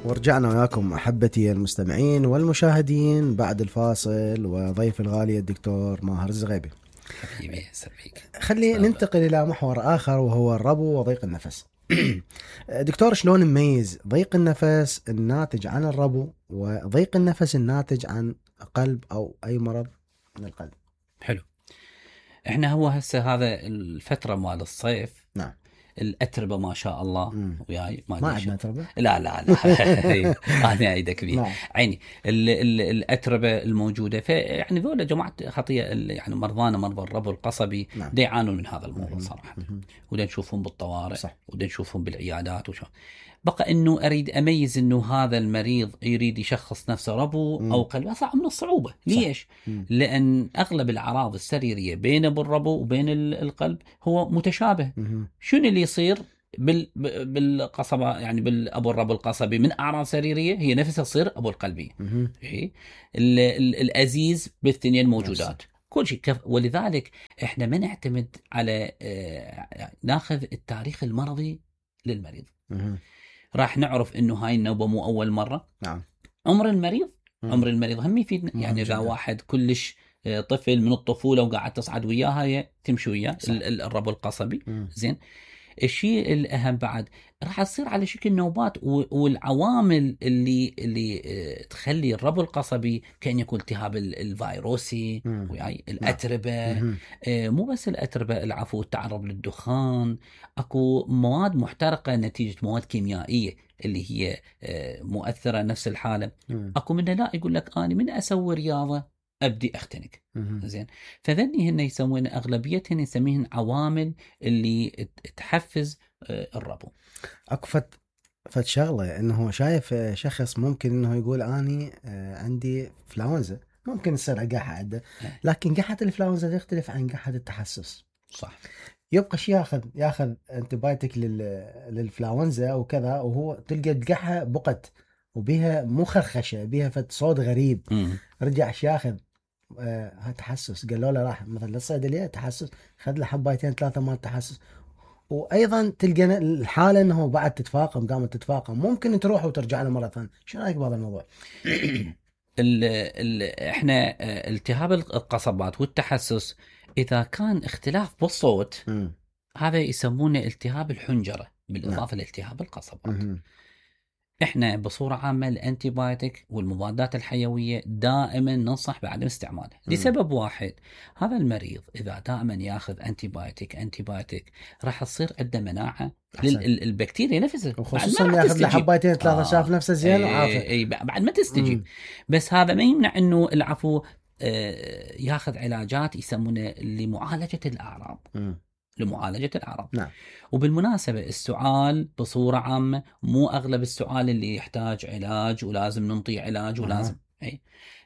ورجعنا وياكم أحبتي المستمعين والمشاهدين بعد الفاصل، وضيف الغالي الدكتور ماهر الزغيبي. حبيبي سبيك. خلي ننتقل إلى محور آخر وهو الربو وضيق النفس. دكتور، شلون نميز ضيق النفس الناتج عن الربو وضيق النفس الناتج عن قلب أو أي مرض من القلب؟ حلو. احنا هو هسه هذا الفترة مال الصيف. نعم. الأتربة ما شاء الله وياي ما عندنا أتربة. لا أنا أيدك بيه. عيني الأتربة الموجودة يعني ذولا جماعة خطية يعني مرضى الربو القصبي دا يعانون من هذا الموضوع صراحة. ودا نشوفهم بالطوارئ ودا نشوفهم بالعيادات وشو. بقى انه اريد اميز انه هذا المريض يريد يشخص نفسه ربو او قلب، صعب من الصعوبة. ليش؟ لان اغلب الاعراض السريرية بين الربو وبين القلب هو متشابه. شنو اللي يصير بالقصبة يعني بالابو الربو القصبي من اعراض سريرية هي نفسها تصير ابو القلبي. الازيز بالاثنين موجودات كل شيء ولذلك احنا ما نعتمد على ناخذ التاريخ المرضي للمريض. راح نعرف انه هاي النوبة مو اول مرة. نعم. عمر المريض هم يفيدنا. يعني اذا واحد كلش طفل من الطفولة وقاعد تصعد وياها تمشي وياه الربو القصبي زين. الشيء الأهم بعد راح تصير على شكل نوبات، والعوامل اللي تخلي الربو القصبي كأن يكون التهاب الفيروسي وياي الأتربة. مو بس الأتربة، العفو التعرض للدخان، أكو مواد محترقة نتيجة مواد كيميائية اللي هي مؤثرة نفس الحالة. أكو منها لا يقول لك أنا من أسوي رياضة أبدي أختنق. زين. فذني هن يسمون أغلبيتهن يسميهن عوامل اللي تحفز الربو. أكو فت شغلة إنه شايف شخص ممكن إنه يقول أني عندي فلاونزا، ممكن يصير قحة عنده، لكن قحة الفلاونزا تختلف عن قحة التحسس. صح. يبقى شيء ياخذ انتبايتك للفلاونزا وكذا، وهو تلقى القحة بقت وبيها مو خرخشة، بيها فت صوت غريب. رجع ياخذ تحسس، قالوا له راح مثلا للصيدليه تحسس، خذ له حبايتين ثلاثه مال تحسس. وايضا تلقى الحاله انه بعد تتفاقم، قامت تتفاقم، ممكن تروح وترجع له مره ثانيه. شو رايك بهذا الموضوع؟ احنا التهاب القصبات والتحسس اذا كان اختلاف بالصوت هذا يسمونه التهاب الحنجره بالاضافه لالتهاب القصبات. احنا بصورة عامة الانتيبايوتيك والمضادات الحيوية دائما ننصح بعدم استعماله لسبب واحد. هذا المريض اذا دائما ياخذ انتيبايوتيك راح تصير عنده مناعة للبكتيريا نفسها، وخصوصا ياخذ له حبايتين ثلاثة شاف نفسه زين وعافى بعد ما تستجيب. بس هذا ما يمنع انه العفو ياخذ علاجات يسمونه لمعالجة الأعراض. نعم. وبالمناسبة السعال بصورة عامة مو أغلب السعال اللي يحتاج علاج ولازم ننطي علاج ولازم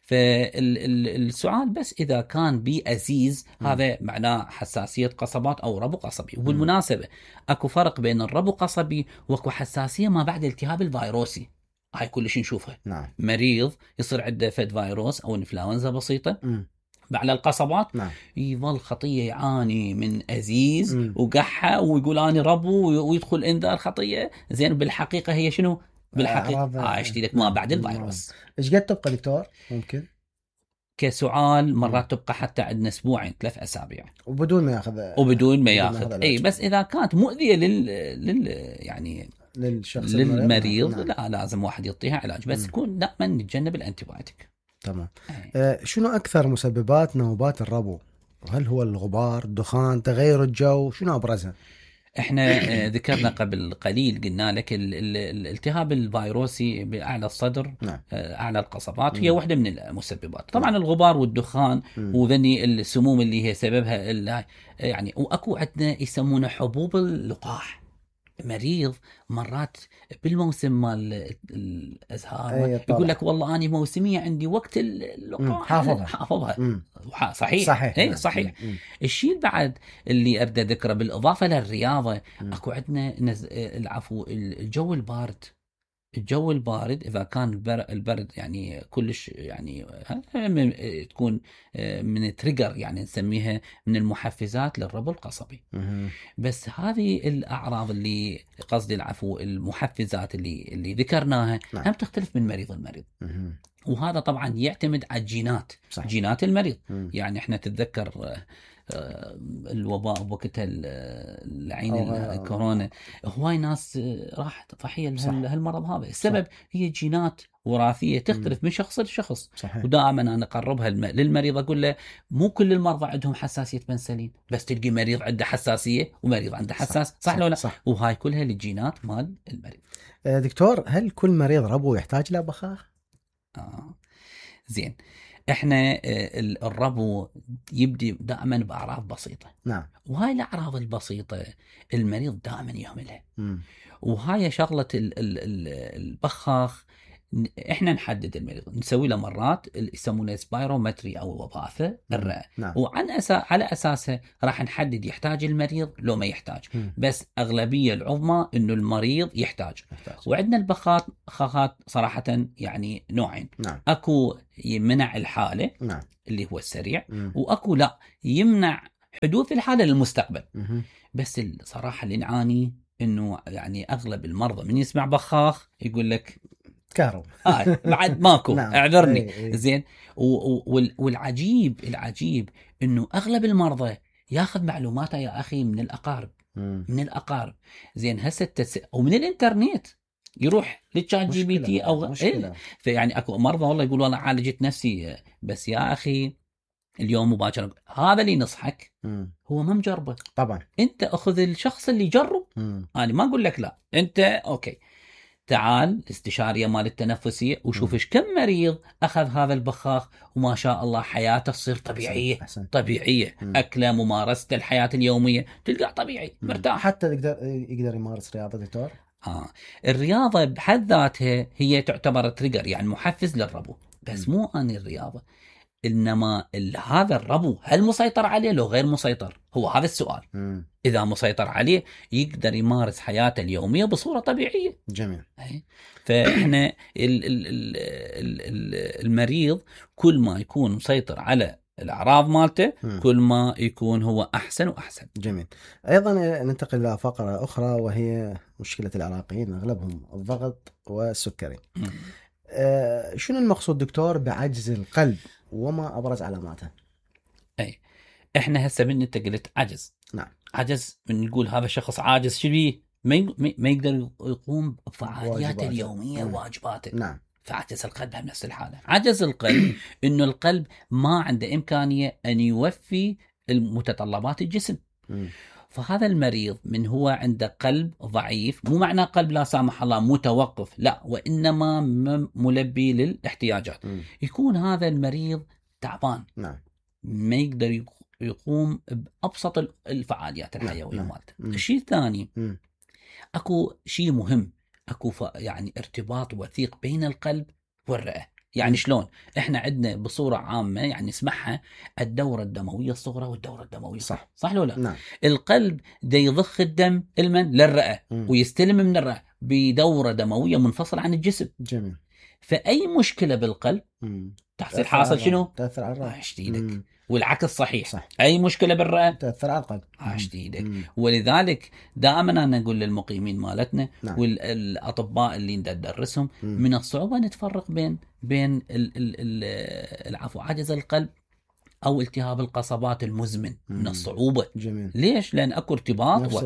فالسعال بس إذا كان بأزيز هذا معناه حساسية قصبات أو ربو قصبي. وبالمناسبة أكو فرق بين الربو قصبي وأكو حساسية ما بعد التهاب الفيروسي. هاي كلش نشوفها. نعم. مريض يصير عنده فد فيروس أو انفلونزا بسيطة بعد القصبات يظل خطية يعاني من أزيز وقحة ويقول أنا ربو ويدخل إنذار خطية. زين بالحقيقة هي شنو؟ بالحقيقة اشتي لك ما بعد الفيروس. إيش قد تبقى دكتور؟ ممكن كسعال مرات تبقى حتى عندنا أسبوعين 3 أسابيع وبدون ما ياخذ أي بس إذا كانت مؤذية يعني للشخص للمريض لا لازم واحد يعطيها علاج. بس يكون دائما نتجنب الانتيبيوتيك. تمام. شنو أكثر مسببات نوبات الربو؟ هل هو الغبار، الدخان، تغير الجو؟ شنو أبرزها؟ احنا ذكرنا قبل قليل قلنا لك الالتهاب الفيروسي بأعلى الصدر أعلى القصبات هي واحدة من المسببات. طبعا الغبار والدخان وذني السموم اللي هي سببها يعني. وأكو عندنا يسمونه حبوب اللقاح. مريض مرات بالموسم مال الأزهار يقول لك والله أنا موسمية عندي وقت اللقاح حافظها. صحيح. صحيح. الشيء بعد اللي أريد ذكره بالإضافة للرياضة أكو عندنا العفو الجو البارد الجو البارد اذا كان البرد يعني كلش يعني تكون من تريجر، يعني نسميها من المحفزات للربو القصبي. بس هذه الاعراض اللي قصدي العفو المحفزات اللي ذكرناها هم تختلف من مريض لمريض. وهذا طبعا يعتمد على الجينات، صح. جينات المريض. يعني احنا تتذكر الوباء بوقتها العين الكورونا، هواي ناس راحت ضحيه لهالمرض هذا. السبب صح. هي جينات وراثيه تختلف من شخص لشخص. صحيح. ودائما انا اقربها للمريض اقول له مو كل المرضى عندهم حساسيه بنسلين، بس تلقي مريض عنده حساسيه ومريض عنده حساس، صح ولا لا؟ صح. وهاي كلها للجينات مال المريض. دكتور، هل كل مريض ربو يحتاج له بخاخ؟ زين، احنا الربو يبدي دائما باعراض بسيطه. نعم. وهاي الاعراض البسيطه المريض دائما يهملها. وهاي شغله البخاخ احنا نحدد المريض، نسوي له مرات يسمونه سبايرومتري او وظافه الرئه. نعم. على اساسها راح نحدد يحتاج المريض لو ما يحتاج. بس اغلبيه العظمى انه المريض يحتاج. وعندنا البخاخات صراحه يعني نوعين. نعم. اكو يمنع الحاله. نعم. اللي هو السريع. واكو لا يمنع حدوث الحاله للمستقبل. بس الصراحه اللي نعاني انه يعني اغلب المرضى من يسمع بخاخ يقول لك كهرب بعد ماكو. نعم. اعذرني. ايه. زين. والعجيب انه اغلب المرضى ياخذ معلوماته يا اخي من الاقارب. من الاقارب. زين هسه ومن الانترنت يروح للشات جي بي تي او فيعني اكو مرضى والله يقول والله عالجت نفسي، بس يا اخي اليوم مباشرة هذا اللي نصحك هو ما مجربه. طبعا انت اخذ الشخص اللي جرب. انا ما اقول لك لا، انت اوكي تعال الاستشارية مال التنفسية وشوف ايش كم مريض اخذ هذا البخاخ وما شاء الله حياته تصير طبيعية. أحسن. طبيعية. اكله، ممارسة الحياة اليومية تلقى طبيعي مرتاح. حتى يقدر يمارس رياضة دكتور. الرياضة بحد ذاتها هي تعتبر تريجر، يعني محفز للربو، بس مو اني الرياضة، انما هذا الربو هل مسيطر عليه لو غير مسيطر؟ هو هذا السؤال. اذا مسيطر عليه يقدر يمارس حياته اليوميه بصوره طبيعيه. جميل. فاحنا المريض كل ما يكون مسيطر على الاعراض مالته كل ما يكون هو احسن واحسن. جميل. ايضا ننتقل الى فقره اخرى وهي مشكله العراقيين، اغلبهم الضغط والسكري. شنو المقصود دكتور بعجز القلب وما ابرز علاماته؟ اي احنا هسه من انت قلت عجز. نعم. عجز من نقول هذا شخص عاجز، شو بيه؟ ما يقدر يقوم بفعالياته اليوميه وواجباته. نعم. فعجز القلب بنفس الحاله. عجز القلب انه القلب ما عنده امكانيه ان يوفي المتطلبات الجسم. فهذا المريض من هو عنده قلب ضعيف، مو معنى قلب لا سامح الله متوقف، لا، وإنما ملبي للاحتياجات. يكون هذا المريض تعبان. نعم. ما يقدر يقوم بأبسط الفعاليات الحيوية مالته. الشيء الثاني أكو شيء مهم، أكو يعني ارتباط وثيق بين القلب والرئة. يعني شلون؟ احنا عندنا بصورة عامة يعني نسمعها الدورة الدموية الصغرى والدورة الدموية. صح لو لا؟ نعم. القلب دا يضخ الدم للرئة ويستلم من الرئة بدورة دموية منفصلة عن الجسم. جميل. فأي مشكلة بالقلب تحصل حاصل شنو؟ تأثر على الرئة. شديدك. والعكس صحيح. أي مشكلة بالرئة تأثر على القلب. شديدك. ولذلك دائما أنا أقول للمقيمين مالتنا نعم. والأطباء اللي ندرسهم من الصعوبة نتفرق بين العفو عجز القلب أو التهاب القصبات المزمن. من الصعوبة. جميل. ليش؟ لأن أكو ارتباط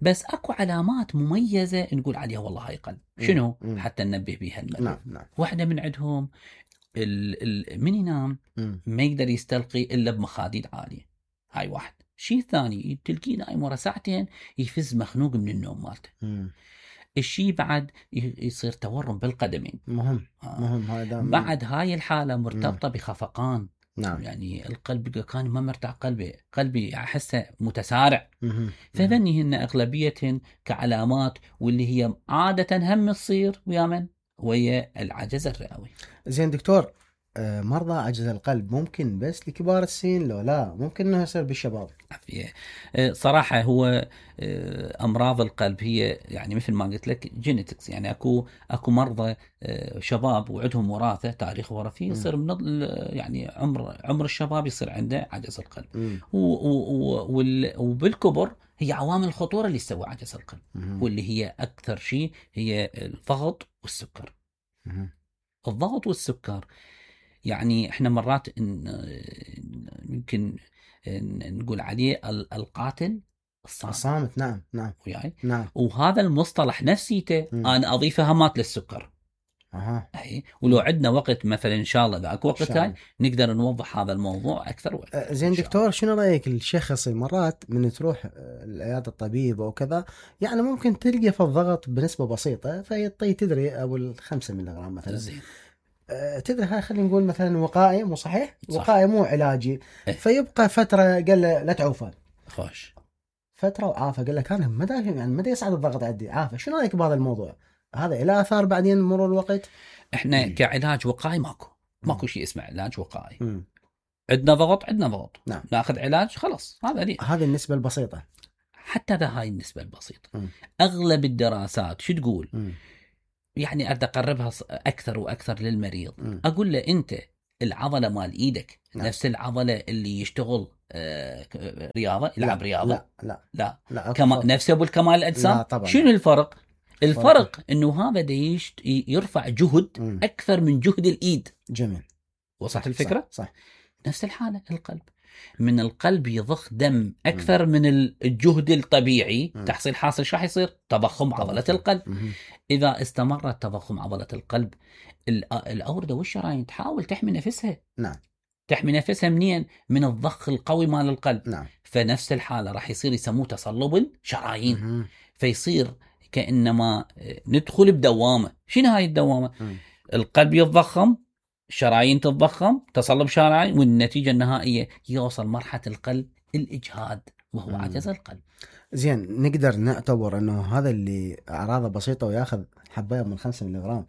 بس أكو علامات مميزة نقول عليها والله هاي قلب. شنو؟ حتى ننبه بها المريض. نعم. واحدة من عندهم من ينام ما يقدر يستلقي إلا بمخاديد عالية. هاي واحد. شيء ثاني تلقي نايم ورا ساعتين يفز مخنوق من النوم مالته. الشيء بعد يصير تورم بالقدمين. مهم. بعد هاي الحالة مرتبطة بخفقان. نعم. يعني القلب كان ما مرتاح، قلبي أحسه متسارع. فذني هن أغلبيتهن كعلامات واللي هي عادة هم تصير ويا من ويا العجز الرئوي. زين دكتور، مرضى عجز القلب ممكن بس لكبار السن لو لا ممكن انه يصير بالشباب؟ عافية. صراحة هو أمراض القلب هي يعني مثل ما قلت لك جينيتكس، يعني أكو مرضى شباب وعندهم وراثة، تاريخ وراثي، يصير من يعني عمر الشباب يصير عنده عجز القلب. وبالكبر هي عوامل الخطورة اللي تسوي عجز القلب، واللي هي أكثر شيء هي الضغط والسكر. الضغط والسكر يعني احنا مرات يمكن نقول عليه القاتل الصامت. نعم وياي. نعم. وهذا المصطلح نفسيته انا اضيفه همات للسكر. اي ولو عندنا وقت مثلا ان شاء الله اذا اكو وقت هاي نقدر نوضح هذا الموضوع اكثر واكثر. زين دكتور، شنو رايك الشخص مرات من تروح العياده الطبيب او كذا، يعني ممكن تلقى في الضغط بنسبه بسيطه فيعطي تدري ابو 5 ملغ مثلا. زين. تدري هاي خلينا نقول مثلا وقائي، مو صحيح؟ وقائي مو علاجي. فيبقى فتره قال له لا تعوفه. خوش. فتره وعافى، قال لك انا ما يصعد الضغط عندي، عافى. شنو رايك بهذا الموضوع؟ هذا له اثار بعدين مرور الوقت؟ احنا كعلاج وقائي ماكو شيء اسمه علاج وقائي. عندنا ضغط. نعم. ناخذ علاج خلاص. هذه النسبه البسيطه. حتى هاي النسبه البسيطه. اغلب الدراسات شو تقول؟ يعني أريد أقربها أكثر وأكثر للمريض. أقول له أنت العضلة مال إيدك نفس العضلة اللي يشتغل رياضة، يلعب رياضة. لا. نفسه بالكمال الأجسام. شنو الفرق؟ الفرق إنه هذا يرفع جهد أكثر من جهد الإيد. جميل. وصلت الفكرة؟ صح. نفس الحالة القلب. من القلب يضخ دم أكثر من الجهد الطبيعي. تحصيل حاصل شو راح يصير؟ تضخم عضلة القلب. إذا استمرت تضخم عضلة القلب، الأوردة والشرايين تحاول تحمي نفسها. نعم. تحمي نفسها منين؟ من الضخ القوي مال القلب. نعم. فنفس الحالة راح يصير يسموه تصلب الشرايين. فيصير كأنما ندخل بدوامة. شنو هاي الدوامة؟ القلب يتضخم، الشرايين تتضخم، تصلب شرايين، والنتيجة النهائية يوصل مرحلة القلب الإجهاد وهو عجز القلب. زين، نقدر نعتبر انه هذا اللي اعراضه بسيطه وياخذ حبايه من 5 ملغ،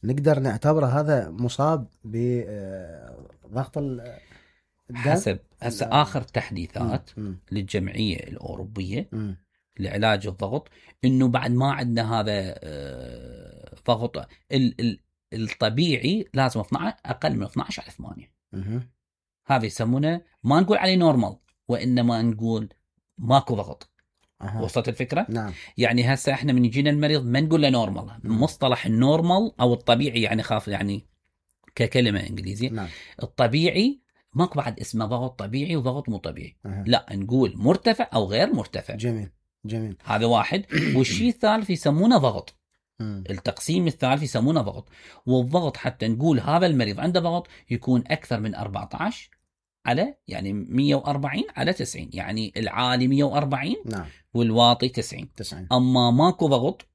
نقدر نعتبره هذا مصاب بضغط الدم؟ حسب هسه اخر تحديثات للجمعيه الاوروبيه لعلاج الضغط انه بعد ما عندنا هذا ضغط الطبيعي لازم 12 اقل من 12 على 8. هذا يسمونه ما نقول عليه نورمال، وانما نقول ماكو ضغط. وصلت الفكرة؟ نعم. يعني هسه احنا من يجينا المريض ما نقول له نورمال. مصطلح النورمال او الطبيعي يعني خاف يعني ككلمة انجليزية. نعم. الطبيعي ماكو بعد اسمه ضغط طبيعي وضغط مو طبيعي. لا، نقول مرتفع او غير مرتفع. جميل. هذا واحد. والشيء الثالث يسمونه ضغط. التقسيم الثالث يسمونه ضغط. والضغط حتى نقول هذا المريض عنده ضغط يكون اكثر من 14 على يعني 140 على 90، يعني العالي 140 نعم. والواطي 90. أما ماكو ضغط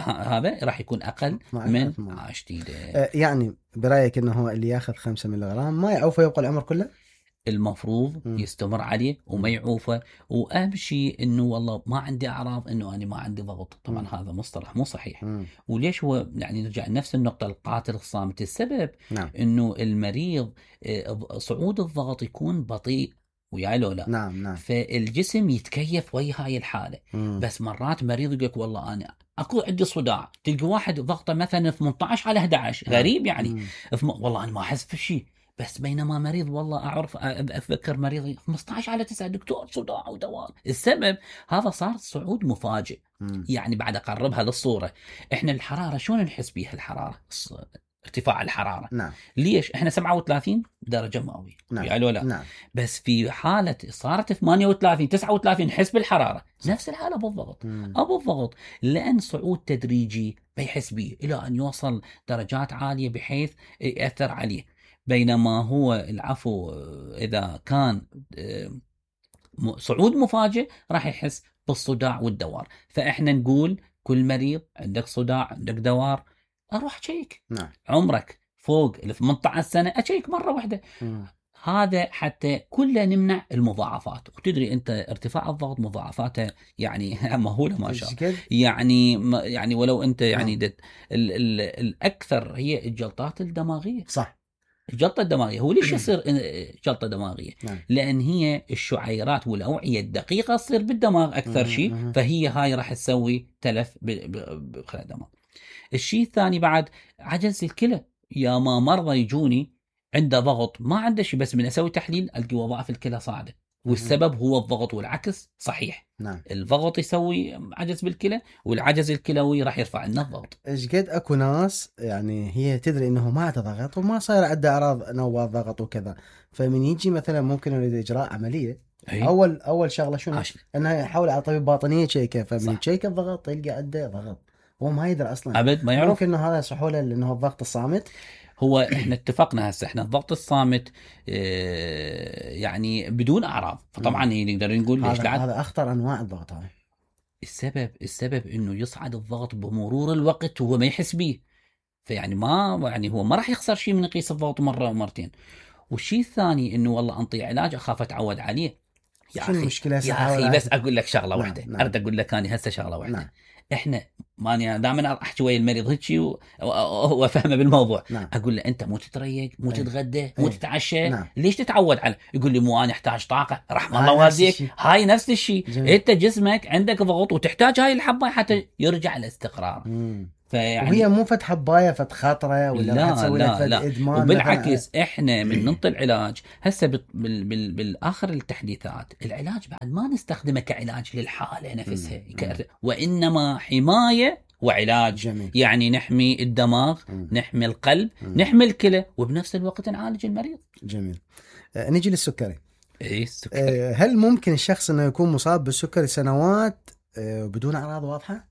هذا راح يكون أقل من شديدة. يعني برأيك أنه هو اللي ياخذ 5 ملغ ما يعوفه يبقى العمر كله؟ المفروض يستمر عليه وما يعوفه. وأهم شيء أنه والله ما عندي أعراض أنه أنا ما عندي ضغط. طبعا هذا مصطلح مو صحيح. وليش هو يعني نرجع لنفس النقطة، القاتل الصامت. السبب أنه المريض صعود الضغط يكون بطيء وياي لو لا. نعم. فالجسم يتكيف ويا هاي الحالة. بس مرات مريض يقولك والله أنا أكو عندي صداع، تلقى واحد ضغطه مثلا 18 على 11. غريب يعني. والله أنا ما أحس بشيء، بس بينما مريض والله أعرف أتذكر مريض 15 على 9 دكتور صداع ودوار. السبب هذا صار صعود مفاجئ. يعني بعد أقربها للصورة، إحنا الحرارة شلون نحس بيها؟ الحرارة ارتفاع الحرارة. نعم. ليش؟ إحنا 37 درجة مئوية. نعم. يعني لا. نعم. بس في حالة صارت 38 39 نحس بالحرارة. نفس الحالة بالضغط. أو بالضغط، لأن صعود تدريجي بيحس بيه إلى أن يوصل درجات عالية بحيث يأثر عليه. بينما هو العفو إذا كان صعود مفاجئ راح يحس بالصداع والدوار. فإحنا نقول كل مريض عندك صداع عندك دوار أروح أشيك. نعم. عمرك فوق 18 سنة أشيك مرة واحدة. هذا حتى كله نمنع المضاعفات. وتدري أنت ارتفاع الضغط مضاعفاته يعني مهولة ما شاء الله. يعني ولو أنت يعني الأكثر هي الجلطات الدماغية. صح. الجلطه الدماغيه. هو ليش يصير جلطه دماغيه؟ نعم. لان هي الشعيرات والاوعيه الدقيقه تصير بالدماغ اكثر شيء، فهي هاي راح تسوي تلف بخلايا الدماغ. الشيء الثاني بعد عجز الكلى. يا ما مرضى يجوني عنده ضغط ما عنده شيء، بس من اسوي تحليل القى وظائف الكلى صاعده، والسبب هو الضغط، والعكس صحيح. نعم. الضغط يسوي عجز بالكلى، والعجز الكلوي راح يرفع لنا الضغط. ايش قد اكو ناس يعني هي تدري انه ما عنده ضغط وما صاير عنده اعراض نوبات ضغط وكذا، فمن يجي مثلا ممكن يريد اجراء عمليه، أي. اول شغله شنو؟ انه يحاول على طبيب باطنيه يشيكه، فمن يشيك الضغط يلقى عنده ضغط هو ما يدري اصلا، ابد ما يعرف. ممكن انه هذا سحوله لانه الضغط الصامت. هو احنا اتفقنا هسه احنا الضغط الصامت يعني بدون اعراض، فطبعا نقدر نقول ليش هذا اخطر انواع الضغط. هذا السبب انه يصعد الضغط بمرور الوقت وهو ما يحس به، فيعني ما يعني هو ما راح يخسر شيء من يقيس الضغط مره ومرتين. والشيء الثاني انه والله انطي علاج اخاف اتعود عليه. يا شو اخي المشكله يا اخي بس اقول لك شغله واحده. نعم. اريد اقول لك انا هسه شغله واحده. نعم. احنا ماني دائما احكي ويا المريض هيك وهو فاهمه بالموضوع. نعم. اقول له انت مو تتريق، مو تتغدى، مو تتعشى. نعم. ليش تتعود على؟ يقول لي مو انا احتاج طاقه. رحم الله والديك، هاي نفس الشيء. انت جسمك عندك ضغط وتحتاج هاي الحبه حتى يرجع الاستقرار. فيعني وهي مو فت حبايه فت خاطره ولا راح تسوي لك فد ادمان. وبالعكس احنا من ننطي العلاج هسه بالاخر التحديثات العلاج بعد ما نستخدمه كعلاج للحاله نفسها وانما حمايه وعلاج. جميل. يعني نحمي الدماغ، نحمي القلب، نحمي الكلى، وبنفس الوقت نعالج المريض. جميل. نيجي للسكري. السكري. هل ممكن الشخص انه يكون مصاب بالسكري سنوات بدون اعراض واضحه؟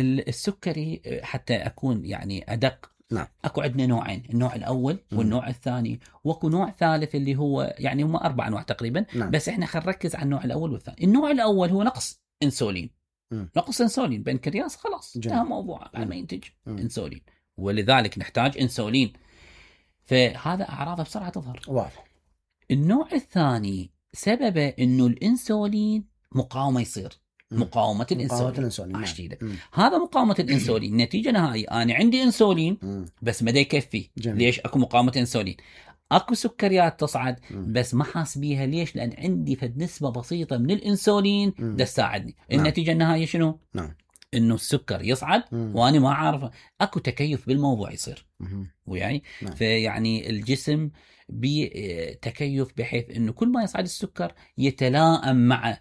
السكري حتى اكون يعني ادق. نعم. اكو عندنا نوعين، النوع الاول والنوع الثاني، واكو نوع ثالث اللي هو يعني هم 4 انواع تقريبا. نعم. بس احنا خلينا نركز على النوع الاول والثاني. النوع الاول هو نقص انسولين. نقص انسولين بنكرياس خلاص انتهى موضوع بعد ما ينتج انسولين، ولذلك نحتاج انسولين، فهذا اعراضه بسرعه تظهر. واضح. النوع الثاني سببه انه الانسولين مقاومه يصير. مقاومة الانسولين. هذا مقاومة الانسولين نتيجة نهائية انا عندي انسولين بس ما دا يكفي. ليش؟ اكو مقاومة انسولين. اكو سكريات تصعد بس ما حاس بيها. ليش؟ لان عندي فد نسبة بسيطة من الانسولين دا تساعدني. النتيجة النهائية شنو؟ انه السكر يصعد وانا ما عارف. اكو تكيف بالموضوع يصير ويعني فيعني الجسم بتكيف بحيث انه كل ما يصعد السكر يتلائم مع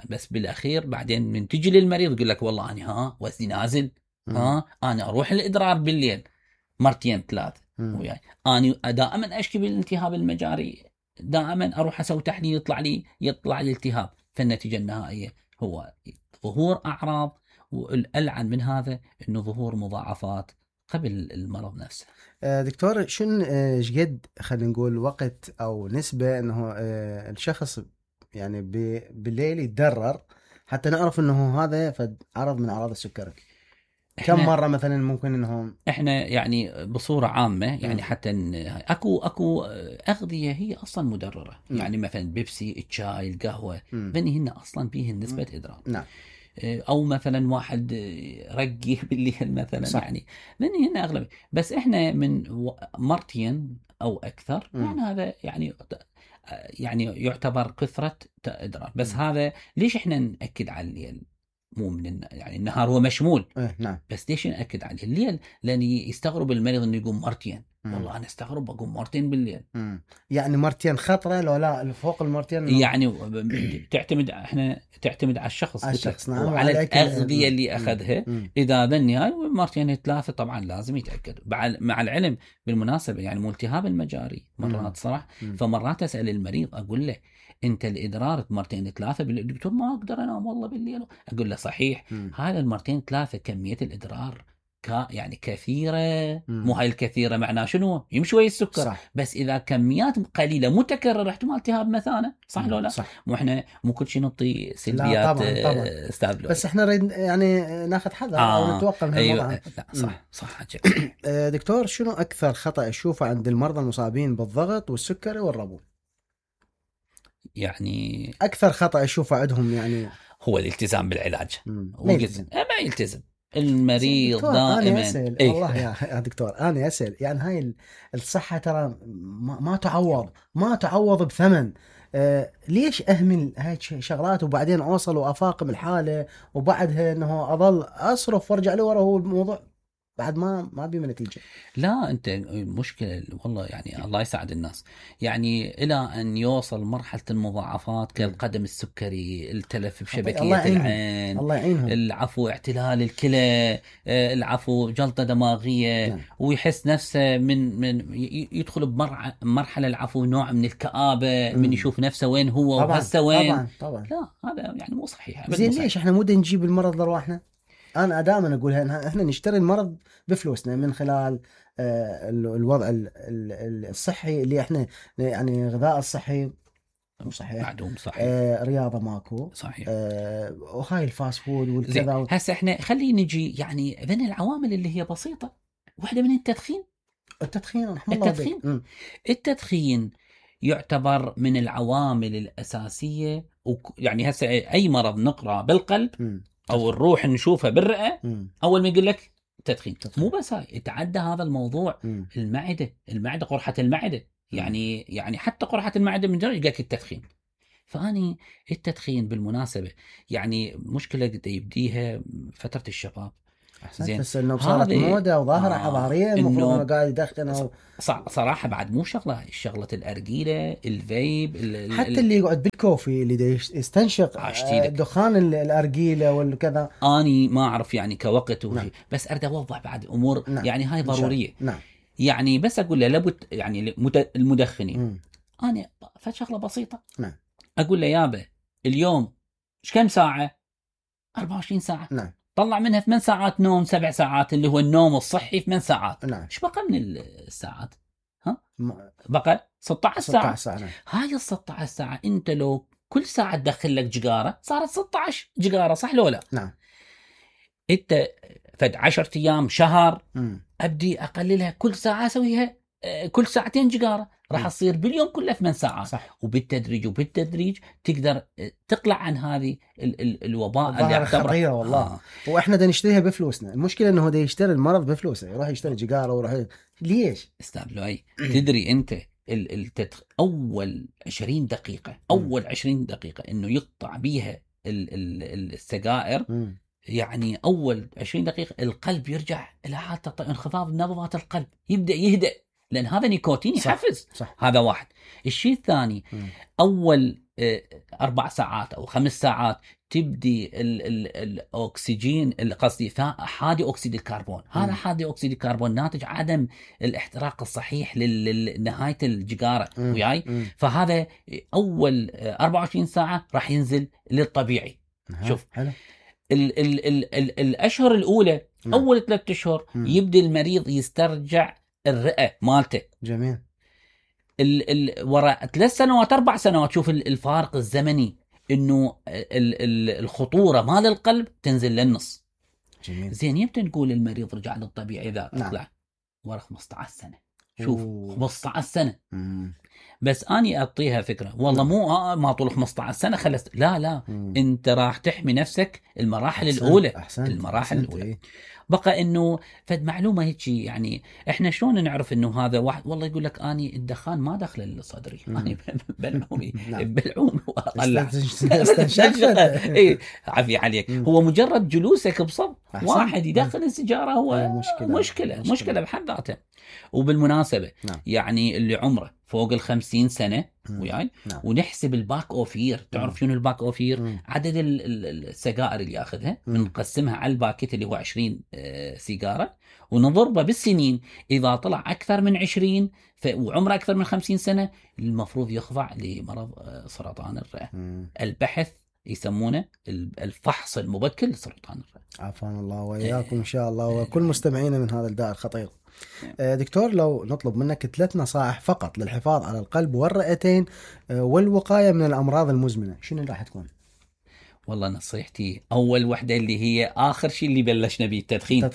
بس بالاخير بعدين من تجي للمريض يقول لك والله انا وزني نازل، انا اروح الادرار بالليل مرتين 3 وياي، انا دائما اشكي بالالتهاب المجاري، دائما اروح اسوي تحليل يطلع لي التهاب. فالنتيجه النهائيه هو ظهور اعراض، والالعن من هذا انه ظهور مضاعفات قبل المرض نفسه. دكتور شنو قد خلينا نقول وقت او نسبه انه الشخص يعني بالليل يتضرر حتى نعرف انه هذا عرض من اعراض السكري؟ كم مرة مثلا ممكن انهم احنا يعني بصورة عامة يعني حتى اكو اغذية هي اصلا مدررة. يعني مثلا بيبسي، الشاي، القهوة، بني هن اصلا فيهن نسبة ادرار. نعم. او مثلا واحد رقي بالليل مثلا. صح. يعني بني هن اغلب. بس احنا من مرتين او اكثر يعني هذا يعني يعتبر كثرة ادرار. بس هذا ليش احنا نأكد على الليل؟ مو من يعني النهار هو مشمول. نعم. بس ليش نأكد على الليل؟ لأن يستغرب المريض انه يقوم مرتين. والله انا استغرب اقوم مرتين بالليل. يعني مرتين خطرة لو لا فوق المرتين يعني تعتمد على الشخص. نعم. وعلى الأغذية اللي أخذها. إذا بالنهاية مرتين 3 طبعا لازم يتأكد. مع العلم بالمناسبة يعني ملتهاب المجاري مرات صراحة. فمرات أسأل المريض أقول له انت الادرار مرتين 3 بالليل. دكتور ما اقدر انام والله بالليل. اقول له صحيح. هذا المرتين 3 كميه الادرار يعني كثيره. مو هاي الكثيره معناه شنو؟ يمشي ويا السكر. صح. بس اذا كميات قليله متكرره احتمال التهاب مثانه. صح لو لا؟ صح. مو احنا مو كل شيء نعطي سلبيات. طبعا. استاذ بس احنا نريد يعني ناخذ حذر او نتوقع من الموضوع. لا صح. دكتور شنو اكثر خطا اشوفه عند المرضى المصابين بالضغط والسكري والربو؟ يعني اكثر خطا اشوفه عندهم يعني هو الالتزام بالعلاج. ما يلتزم. المريض دكتور دائما انا اسال والله يا دكتور انا اسال يعني هاي الصحه ترى ما تعوض بثمن. ليش اهمل هاي شغلات وبعدين اوصل وافاقم الحاله وبعدها انه اظل اصرف وارجع لورا، هو الموضوع بعد ما بيه نتيجه. لا انت مشكله والله، يعني الله يساعد الناس، يعني الى ان يوصل مرحله المضاعفات كالقدم السكري، التلف بشبكيه العين، الله يعينهم، العفو اعتلال الكلى، العفو جلطه دماغيه. نعم. ويحس نفسه من يدخل بمرحله العفو نوع من الكآبه من يشوف نفسه وين هو وهسه وين. طبعا لا هذا يعني مو صحيح. زين ليش احنا مو نجيب المرض لرواحنا؟ انا دائما اقولها، احنا نشتري المرض بفلوسنا من خلال الوضع الصحي اللي احنا يعني غذاء الصحي مو صحيح، معدوم صحيح، رياضه ماكو صحيح، وهاي الفاست فود والكذا هسه احنا خلينا نجي يعني من العوامل اللي هي بسيطه، واحده من التدخين. رحم الله التدخين بك. التدخين يعتبر من العوامل الاساسيه، يعني هسه اي مرض نقرا بالقلب او الروح نشوفها بالرئه، اول ما يقول لك تدخين. مو بس هاي، يتعدى هذا الموضوع المعده قرحه المعده، يعني حتى قرحه المعده من جرى يلقاك التدخين. فاني التدخين بالمناسبه يعني مشكله قد يبديها فتره الشباب. زين بس انه صارت موده وظاهره حضاريه المفروض انه قاعد يدخن صراحه بعد مو شغله الارجيله، الفيب، حتى اللي يقعد بالكوفي اللي يستنشق دخان الارجيله والكذا. اني ما اعرف يعني كوقت نعم. بس اريد اوضح بعد امور نعم. يعني هاي ضروريه نعم. يعني بس اقول له لابد يعني المدخنين انا فشغله بسيطه نعم. اقول له يابا اليوم ايش كم ساعه؟ 24 ساعه. نعم. طلع منها 8 ساعات نوم، 7 ساعات اللي هو النوم الصحي 8 ساعات. نعم. ايش بقى من الساعات؟ ها؟ بقى 16 ساعه. 16 ساعه. نعم. هاي ال 16 ساعه انت لو كل ساعه تدخل لك جقاره صارت 16 جقاره، صح لو لا؟ نعم. انت فد 10 ايام شهر ابدي اقللها كل ساعه اسويها كل ساعتين جقاره، راح تصير باليوم كله 8 ساعات. صح. وبالتدريج تقدر تقلع عن هذه الوباء اللي يعتبر خطيره والله. واحنا بدنا نشتريها بفلوسنا. المشكله انه هو يشتري المرض بفلوسه، يروح يشتري جقاره ويروح ليش؟ استاذ لؤي تدري انت اول 20 دقيقه اول 20 دقيقه انه يقطع بيها السجائر، يعني اول 20 دقيقه القلب يرجع الى حالته، انخفاض نبضات القلب يبدا يهدأ، لان هذا نيكوتين يحفز. صح. هذا واحد. الشيء الثاني اول 4 ساعات او 5 ساعات تبدي الاكسجين، قصدي حادي اكسيد الكربون. هذا حادي اكسيد الكربون ناتج عدم الاحتراق الصحيح لنهايه الجقاره وياي. فهذا اول 24 ساعه راح ينزل للطبيعي. شوف حلو. الاشهر الاولى اول 3 اشهر يبدا المريض يسترجع الرئه مالته. جميل. وراء 3 سنوات 4 سنوات شوف الفارق الزمني، انه الخطوره مال القلب تنزل للنص. جميل. زين يمتى نقول المريض رجع للطبيعي اذا طلع ورا 15 سنه. شوف 15 سنه. بس اني اعطيها فكره والله مو ما طول 15 سنه خلص، لا انت راح تحمي نفسك المراحل الاولى. المراحل الاولى بقى انه فد معلومه هيك، يعني احنا شلون نعرف انه هذا واحد والله يقول لك اني الدخان ما دخل لصدري، اني بلعوم واطلع اي عافيه عليك. هو مجرد جلوسك بصف واحد يدخل السيجاره هو مشكله بحد ذاته. وبالمناسبه يعني اللي عمره فوق 50 سنه وياي ونحسب الباك اوفير. تعرف شنو الباك اوفير؟ عدد السجائر اللي ياخذها بنقسمها على الباكيت اللي هو 20 سيجاره ونضربه بالسنين. اذا طلع اكثر من 20 وعمره اكثر من 50 سنه المفروض يخضع لمرض سرطان الرئه. البحث يسمونه الفحص المبكر لسرطان الرئه. عافانا الله وإياكم إن شاء الله وكل مستمعينا من هذا الداء الخطير. دكتور لو نطلب منك 3 نصائح فقط للحفاظ على القلب والرئتين والوقاية من الأمراض المزمنة، شنو راح تكون؟ والله نصيحتي أول وحدة اللي هي آخر شيء اللي بلشنا به التدخين.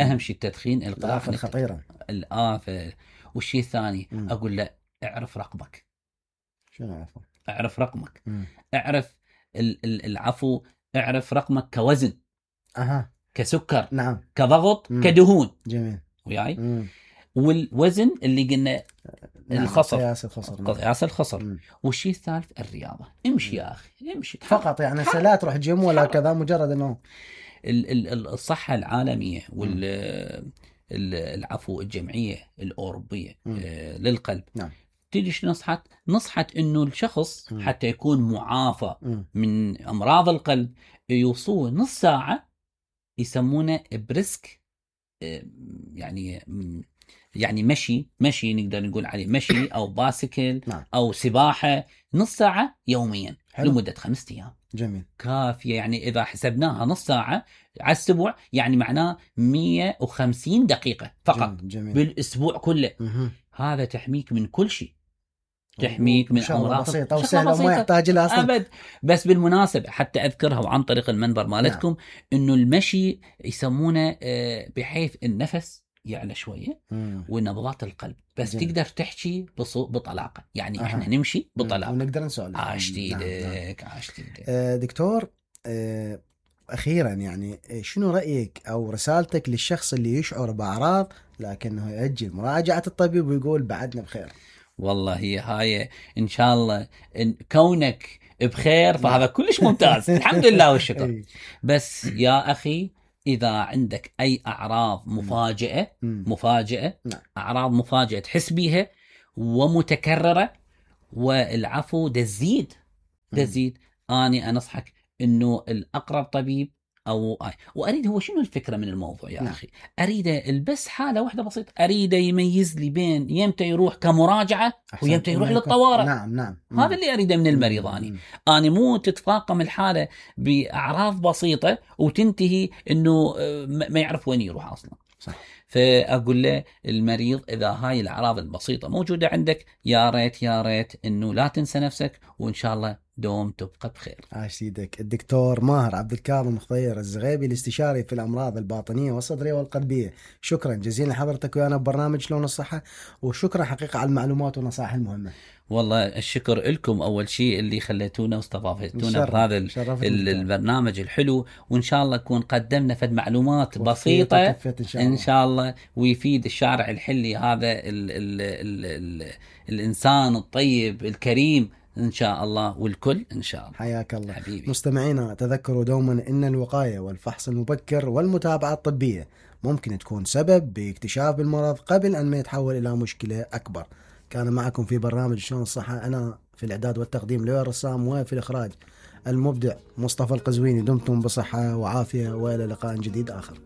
أهم شيء التدخين، الآفة الخطيرة، الآفة. والشيء الثاني أقول له اعرف رقمك. شنو عفو؟ اعرف رقمك. اعرف العفو، اعرف رقمك كوزن. كسكر، نعم، كضغط، كدهون. جميل. وياي. والوزن اللي قلنا الخصر، قياس الخصر. والشيء الثالث الرياضة. امشي يا أخي، امشي فقط، يعني لا تروح جيم ولا كذا، مجرد أنه الصحة العالمية العفو الجمعية الأوروبية للقلب، نعم، تيجي نصحت انه الشخص حتى يكون معافى من امراض القلب يوصوه نص ساعة، يسمونه بريسك، يعني مشي نقدر نقول عليه مشي او باسكل او سباحة نص ساعة يوميا لمدة 5 أيام. جميل، كافية. يعني اذا حسبناها نص ساعة على الاسبوع، يعني معناه 150 دقيقة فقط. جميل. بالاسبوع كله. هذا تحميك من كل شيء، تحميك من امراض بسيطه وسهله وما يحتاج لها اصلا ابد. بس بالمناسبه حتى اذكرها وعن طريق المنبر مالتكم، انه المشي يسمونه بحيث النفس يعلى شويه ونبضات القلب بس جميل. تقدر تحكي بطلاقه، يعني احنا نمشي بطلاقه ونقدر نسولف. عاشتيدك. دكتور، اخيرا يعني شنو رايك او رسالتك للشخص اللي يشعر باعراض لكنه يؤجل مراجعه الطبيب ويقول بعدنا بخير؟ والله هاي ان شاء الله إن كونك بخير فهذا كلش ممتاز. الحمد لله والشكر. بس يا اخي اذا عندك اي اعراض مفاجئه اعراض مفاجئه تحس بيها ومتكرره والعفو تزيد اني انصحك انه الاقرب طبيب واريد هو شنو الفكره من الموضوع يا اخي؟ اريده البس حاله واحده بسيطه، اريده يميز لي بين يمتى يروح كمراجعه ويمتى يروح للطوارئ. نعم. هذا اللي اريده من المريض. اني مو تتفاقم الحاله باعراض بسيطه وتنتهي انه ما يعرف وين يروح اصلا. صح. فاقول له المريض اذا هاي الاعراض البسيطه موجوده عندك، يا ريت انه لا تنسى نفسك، وان شاء الله دوم تبقى بخير. عاش سيدك. الدكتور ماهر عبد الكاظم خضير الزغيبي، الاستشاري في الامراض الباطنيه والصدريه والقلبيه. شكرا جزيلا لحضرتك ويانا ببرنامج شلون الصحه، وشكرا حقيقه على المعلومات والنصائح المهمه. والله الشكر لكم اول شيء اللي خليتونا واستضافتونا بهذا البرنامج الحلو، وان شاء الله نكون قدمنا فد معلومات بسيطه ان شاء الله ويفيد الشارع الحلي هذا الانسان الطيب الكريم ان شاء الله، والكل ان شاء الله. حياك الله حبيبي. مستمعينا تذكروا دوما ان الوقايه والفحص المبكر والمتابعه الطبيه ممكن تكون سبب باكتشاف المرض قبل ان ما يتحول الى مشكله اكبر. كان معكم في برنامج شلون الصحه انا في الاعداد والتقديم لؤي الرسام، وفي الاخراج المبدع مصطفى القزويني. دمتم بصحه وعافيه والى لقاء جديد اخر.